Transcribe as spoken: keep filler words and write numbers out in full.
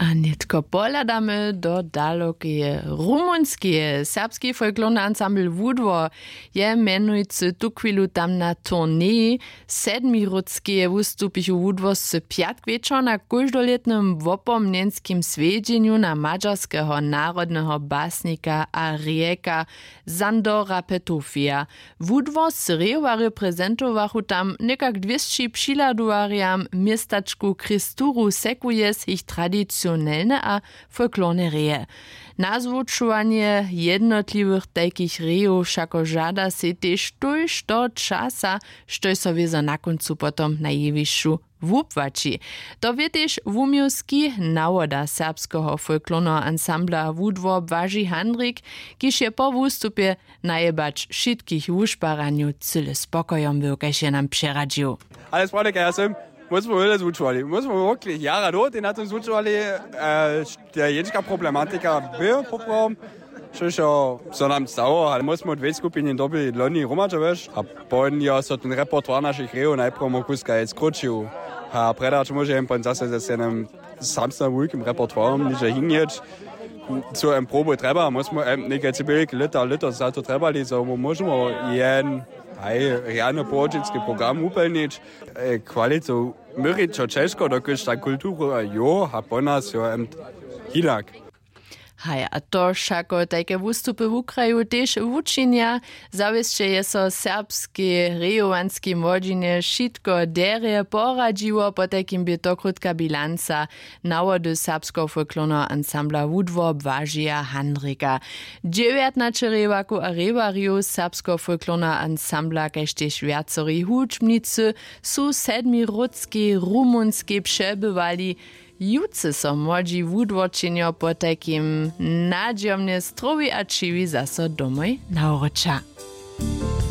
A nětko pohladamy do dalokeje Rumunskeje. Serbski folklorny ansambl Wudwor je mjenujcy tuchwilu tam na turneji. Sedmiródskeje wustupichu Wudworscy pjatk wječor na kóždolětnym wopomnjenskim swjedźenju na madźarskeho narodneho basnika a rijeka Sandora Petofija. Wudworscy rejowarjo prezentowachu tam někak dwěsći přihladowarjam městačku Christuru Secuiesc jich tradicionelne a folklorne reje. Nazwučowanje jednotliwych tajkich rejow wšako žada sej tež tójšto časa, štož so wězo na kóncu potom na jewišću wupłaći. To wě tež wuměłski nawoda serbskeho folklorneho ansambla Wudwor Błaži Handrik, kiž je po wustupje najebać wšitkich wušparanjow cyle spokojom był, kaž je nam přeradźił. Ale sprawnje kaž ja sym, my smo wjele zwučowali, my smo wokle jara dołho tej na tym zwučowali. Te jenička problematika by poprawom, štož jo so nam stało, ale my smo dwě skupiny dobyli loni hromadźe wješ a pon jo so ten repertoir našich rejow najprjemu kuska je skróćił. A predać móže jen pon zase ze scenem samsnym wulkim repertoirom niže hinjeć. Co em proby trjeba, my smo em někaj cybělik lěta lěto za to trjebali zo my móžemy jen haj rjany połožitski program wupjelnić. Kwalitu měrić jo ćežko dokelž ta kultura jo a po nas jo em hinak. Haj a to wšako tajke wustupy wukraju tež wučinja. Zawěsće je so w serbskej rejowanskej młodźinje wšitko derje poradźiło, potajkim bě to krótka bilanca nawody serbskeho folklorneho ansambla Wudwor Błažeja Handrika. Dźewjatnaće rejowarkow a rejowarjow serbskeho folklorneho ansambla kaž tež wjacori hudźbnicy su w sedmiródskej rumunskej přebywali. Jutře so młodźi wudworčenjo potajkim nadźijomnje strowi a ćiwi zaso domoj nawróća.